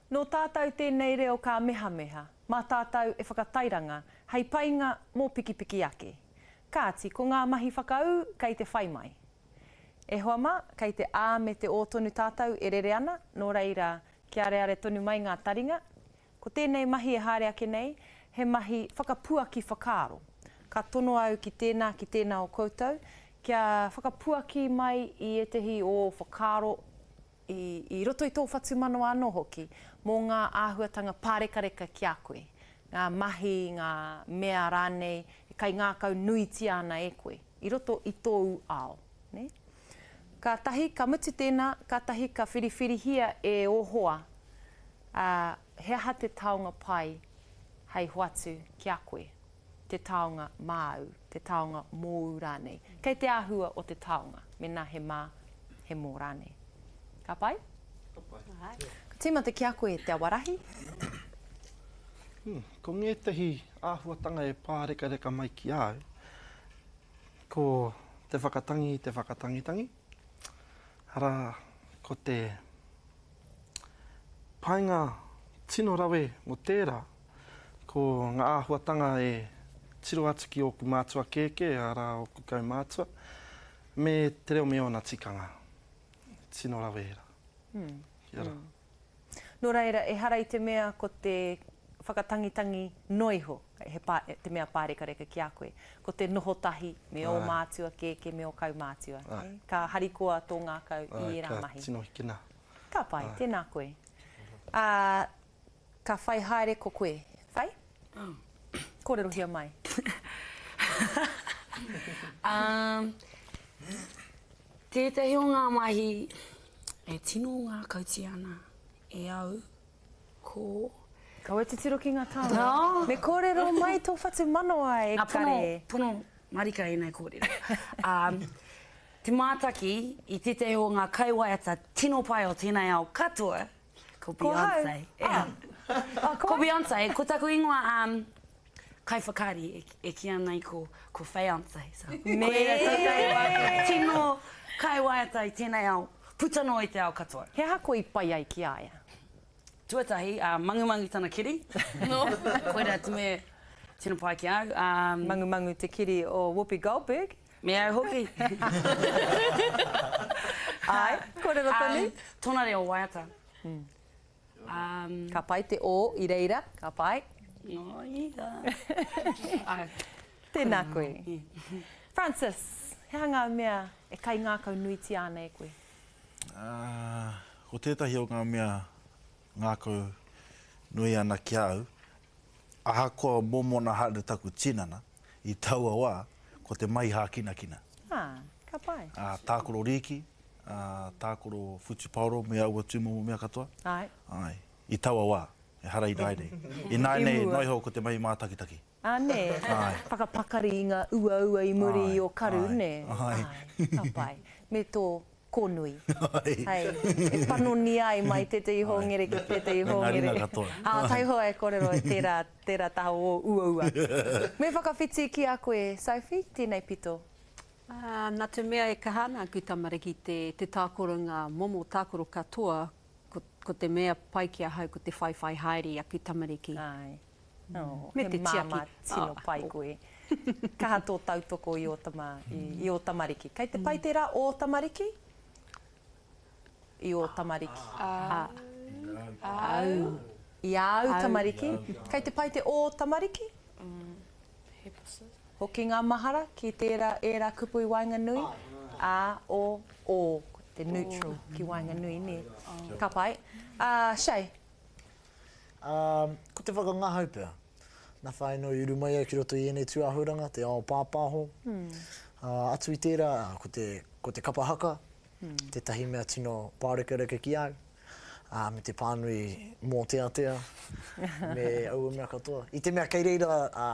Nō tātou tēnei reo kāmehameha, mā tātou e whakatairanga hei painga mō pikipiki ake. Kāti, ko ngā mahi whakaū kei te whai mai. E hoa mā, kei te ā me te ō tonu tātou e rere ana, nō reira, kia areare tonu mai ngā taringa. Ko tēnei mahi e haere ake nei, he mahi whakapuaki whakaaro. Ka tono au ki tēnā, ki tēnā o koutou, kia whakapuaki mai i ētehi o ō whakaaro, i, i roto i tō whatumanawa anō hoki, mō ngā āhuatanga pārekareka ki a koe, ngā mahi, ngā mea rānei e kaingākau nuitia ana e koe, i roto i tōu ao, nē? Kātahi, ka mutu tēnā, kātahi ka whiriwhirihia e ō hoa, ā, he aha te taonga pai hei hoatu ki a koe, te taonga māu, te taonga mōu rānei. Kei te āhua o te taonga, mēnā he mā, he mō rānei. Ka pai? Ka pai. Ka tīmata ki a koe Te Awarahi. Hmm, ko ngētehi āhuatanga e pārekareka mai ki a au, ko te whakatangi i te whakatangitangi, arā, ko te painga tino rawe mō tērā, ko ngā āhuatanga e tiro atu ki ōku mātua kēkē, arā, ōku kaumātua, me te reo me ōna tikanga. Tino rawe ērā. Kia ora. Nō reira, ehara i te mea ko te whakatangitangi noa iho he pā, te mea pārekareka ki a koe. Ko te noho tahi me ō mātua kēkē, me ō kaumātua. Ka harikoa tō ngākau i ērā mahi. Ka tino hikina. Ka pai, tēnā koe. Ā, ka whai haere ko koe. Whai? Kōrerohia mai. Ā, tētahi o ngā mahi e tino ngākautia ana e au, ko. Kaua e titiro ki ngā taonga. Me kōrero mai tō whatumanawa e kare. Pono, pono marika ēnei kōrero. Ā, te mātaki i tētahi o ngā kaiwaiata tino pai o tēnei ao katoa, ko Beyonce. Ko hau? Ah. Ko Beyonce, ko taku ingoa, um, kaiwhakaari e, e kī ana i ko, ko Feyonce. So, Me! Koira tētahi o aku tino kaiwaiata i tēnei ao, puta noa i te ao katoa. He aha koe i pai ai ki a ia? Tuatahi, ā, mangumangu tana kiri. Koira te mea tino pai ki a au. Ā. Mangumangu te kiri o Whoopi Goldberg. Me au hoki. Āe, kōrero tonu. Ā, tōna reo waiata. Ā. Ka pai te ō i reira, ka pai. Nō ia. Āe. Tēnā koe. Francis, he aha ngā mea e kaingākau nuitia ana e koe? Ā, ko tētahi o ngā mea ngākau nui ana ki a au, ahakoa mōmona haere taku tinana i taua wā, ko te mahi hākinakina. Ā, ka pai. Ā, tākaro rīki, ā, tākaro whutupaoro me aua tūmomo mea katoa. Āe. Āe, i taua wā, ehara ināianei. Ināianei, noa iho ko te mahi mātakitaki. Ā, nē? Āe. Whakapakari i ngā uaua i muri i ō karu, nē? Āe. Āe, ka pai. Me tō kōnui. Āe. Hei, e panoni ai mai tētahi hōngere ki tētahi Me ngā hōngere. ringa katoa. Ā, taihoa e kōrero e tērā, tērā taha o ō uaua. Me whakawhiti ki a koe, Sophie, tēnei pito. Ā, nā te mea e kaha ana aku tamariki te, te tākoro ngā momo tākoro katoa, ko, ko te mea pai ki ahau ko te whaiwhai haere i aku tamariki. Āe. Oh, Me he te tiaki. māmā tino pai koe. Kaha tō tautoko i ō tama, i, i ō tamariki. Kei te pai tērā ō tamariki? I ō tamariki. A. Au. I āu tamariki. Kei te pai te ō tamariki? Hoki ngā mahara ki tērā, ērā kupu i waenganui. A, o, ō. Ko te neutral ki waenganui, nē. Ka pai. Uh, Shay? Ā, ko te whakangahau pea. Nā whai anō i uru mai au ki roto i ēnei tūāhuranga, te ao pāpāho. Ā, atu i tērā, ko te, ko te kapa haka, tētahi mea tino pārekareka ki a au, ā, me te pānui mōteatea, me aua mea katoa. I te mea kei reira, ā.